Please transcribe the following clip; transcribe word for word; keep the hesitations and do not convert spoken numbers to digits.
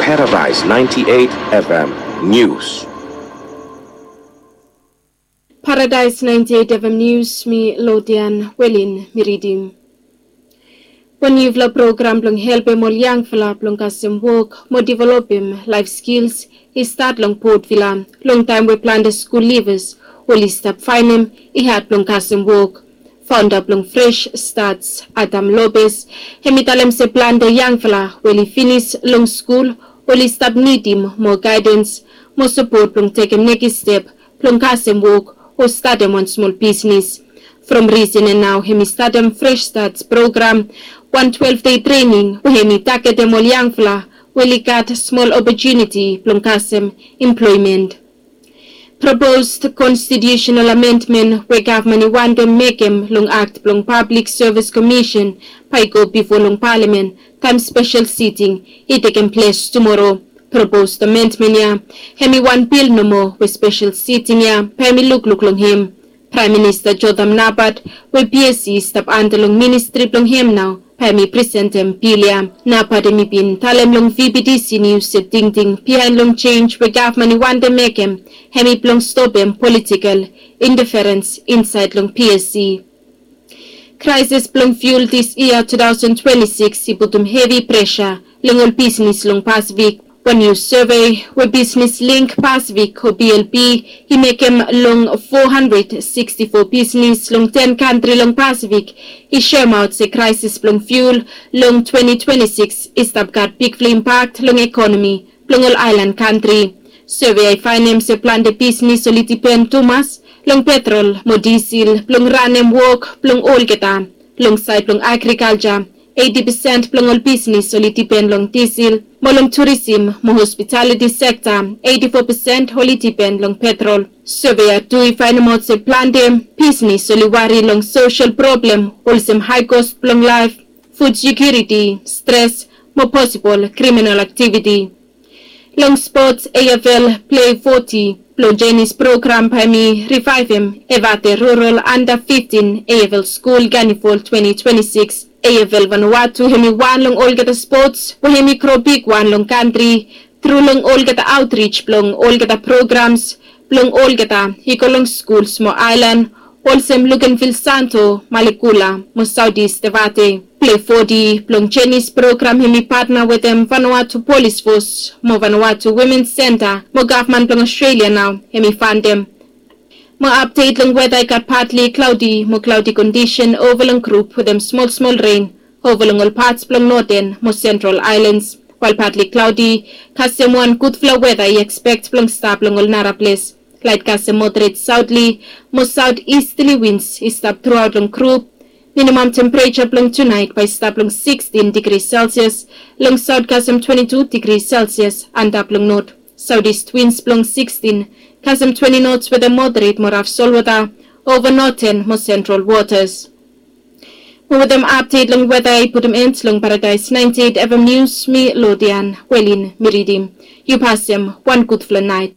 Paradise ninety-eight F M News. Paradise ninety-eight F M News, mi Lodian Welin mi ridim. Wan niufala program blong helpem ol yangfala blong kasem wok mo developem laef skils i stat long Port Vila long taem we plante skul livas oli stap faenem i had blong kasem wok. Faonda blong Fresh Starts, Adam Lopez, hem i talem se plante yangfala we oli finis long skul oli stap nidim moa gaedens mo sapot blong tekem nekis step blong kasem wok o statem wan smol bisnis. From risen en nao hem i statem Fresh Starts program, wan twelve day trening we hem i tagetem ol yangfala we oli gat smol opotuniti blong kasem employment. Proposed constitutional amendment we gavman i wantem mekem long Act blong Public Service Commission bae i go bifo long palamen taem spesel siting i tekem ples tumoro. Proposed amendment ya hem i wan bil nomo we spesel siting ya bae hem i lukluk long hem. Praem Minista Jotham Napat we P S C i stap anda long ministri blong hem nao bae hem i presentem bil ya. Napat hem i bin talem long V B T C News se tingting biaen long jenj we gavman i wantem mekem hem i blong stopem politikel inteferens insaed long P S C. Kraesis blong fiul dis yia two thousand twenty-six i putum hevi presa long ol bisnis long Pasifik. Wan niu sevei we Bisnis Link Pasifik o B L P i mekem long four hundred sixty-four bisnis long ten kantri long Pasifik i soemaot se kraesis blong fiul long twenty twenty-six i stap gat bigfala impak long ekonomi blong ol aelan kantri. Sevei ya i faenem se plante bisnis oli dipen tumas long petrol mo disil blong ranem wok blong olgeta. Long saed blong agrikalja, eiti pesen blong ol bisnis oli dipen long disil, mo long turisim mo hospitaliti sekta, eiti fo pesen oli dipen long petrol. Sevei ya tu i faenemaot se plante bisnis oli wari long sosel problem olsem hae kos blong laef, fud sekiuriti, stres, mo posibol kriminal aktiviti. Long spots, A F L Play foti blong Jenny's program bae hem i rivaevem Evate Rural Under fifteen A F L Skul Carnival twenty twenty-six. A F L Vanuatu hem i wan long olgeta spots we hem i gro bigwan long kantri tru long olgeta aotrij blong olgeta programs blong olgeta i go long skuls mo aelan olsem Luganville Santo, Malekula mo Saotis Evate. Play foti blong Jenny's program hem i patna wetem Vanuatu Polis Fos mo Vanuatu Womens Senta mo gavman blong Ostrelia nao hem i fantem. Mo apdet long weta i gat patli klaodi mo klaodi kondisen ova long grup wetem smolsmol ren ova long ol pats blong noten mo sentral aelans. Wael patli klaodi kasem wan gudfala weta i ekspek blong stap long ol nara ples. Laet kasem moderet saotli mo saot istli wins i stap truaot long grup. Minimam tempereja blong tunaet bae i stap long sikstin digri Selsias, long saot kasem twenti tu digri Selsias antap long not. Saotist wins blong sikstin kasem twenti nots wetem moderet mo raf solwota ova noten mo sentral wotas. Mo wetem apdet long weta i putum en long Paradaes naenti eit F M Nius, mi Lodian Welin mi ridim. Yu pasem wan gudfala naet.